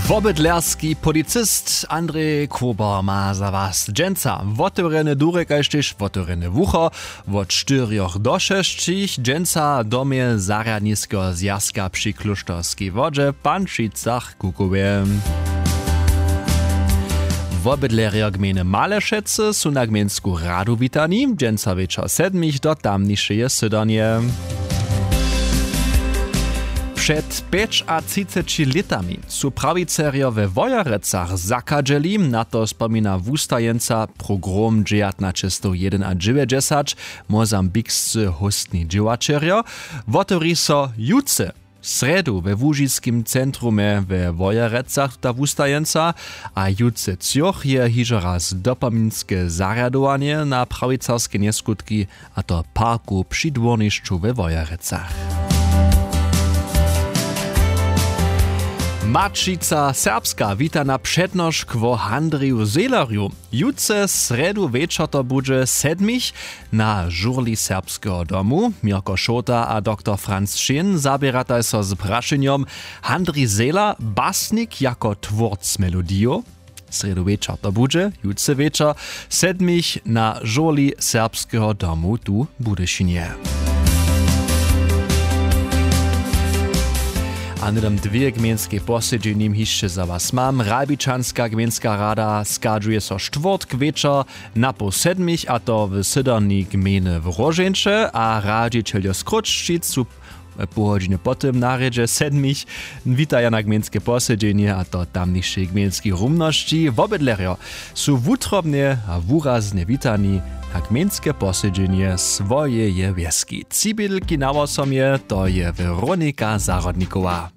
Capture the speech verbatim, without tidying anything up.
Wobydlerski policist Andrej Kober ma za was dźensa wotewrjene durje kaž tež wotewrjene wucho wot štyrjoch do šesćich. Dźensa w domje zarjadniskeho zwjazka při klóšterskej wodźe w Pančicach-Kukowje. Wobydlerjo gmejny Malešecy su na gmejnsku radu witani dźensa wječor sedmich do tamnišeje sydanje. Před pjećatřiceći lětami su prawicerjo we Wojerecach zachadźeli, na to spomina wustajeńca Pogrom dźewjatnaćestow jedenadźewjećdźesać, mozambikscy hóstni dźěłaćerjo. Wotewri so jutře, srjedu, we łužiskim centrumje we Wojerecach tuta wustajeńca. A jutře třoch je hižo raz dopominske zarjadowanje na prawicarske njeskutki, a to w parku při dwórnišću we Wojerecach. Maćica Serbska wita na přednošk wo Handriju Zehlerju. Jutře, srjedu wječor, to budźe sedmich, na žurli Serbskeho domu. Měrko Šołta a doktor Franc Šin zaběrataj so z prašenjom: Handrij Zehler, basnik jako twórc melodijow? Srjedu wječor to budźe, jutře wječor, sedmich, na žurli Serbskeho domu tu w Budyšinje. A hnydom dwě gmejnskej posedźenjim hišće za was mam. Ralbičanska gmejnska rada schadźuje so štwórtk wječor na poł sedmich, a to w syderni gmejny w Róžeńće, a radźićeljo z Chrósćic su pohodźiny po tym na rjedźe sedmich witaja na gmejnske posedźenje, a to tamnišej gmejnskej rumnosći. Wobydlerjo su wutrobnje a wuraznje witani na gmejnske posedźenje swojeje wjeski. Tři bědelki na wosom je, to je Weronika Zahrodnikowa.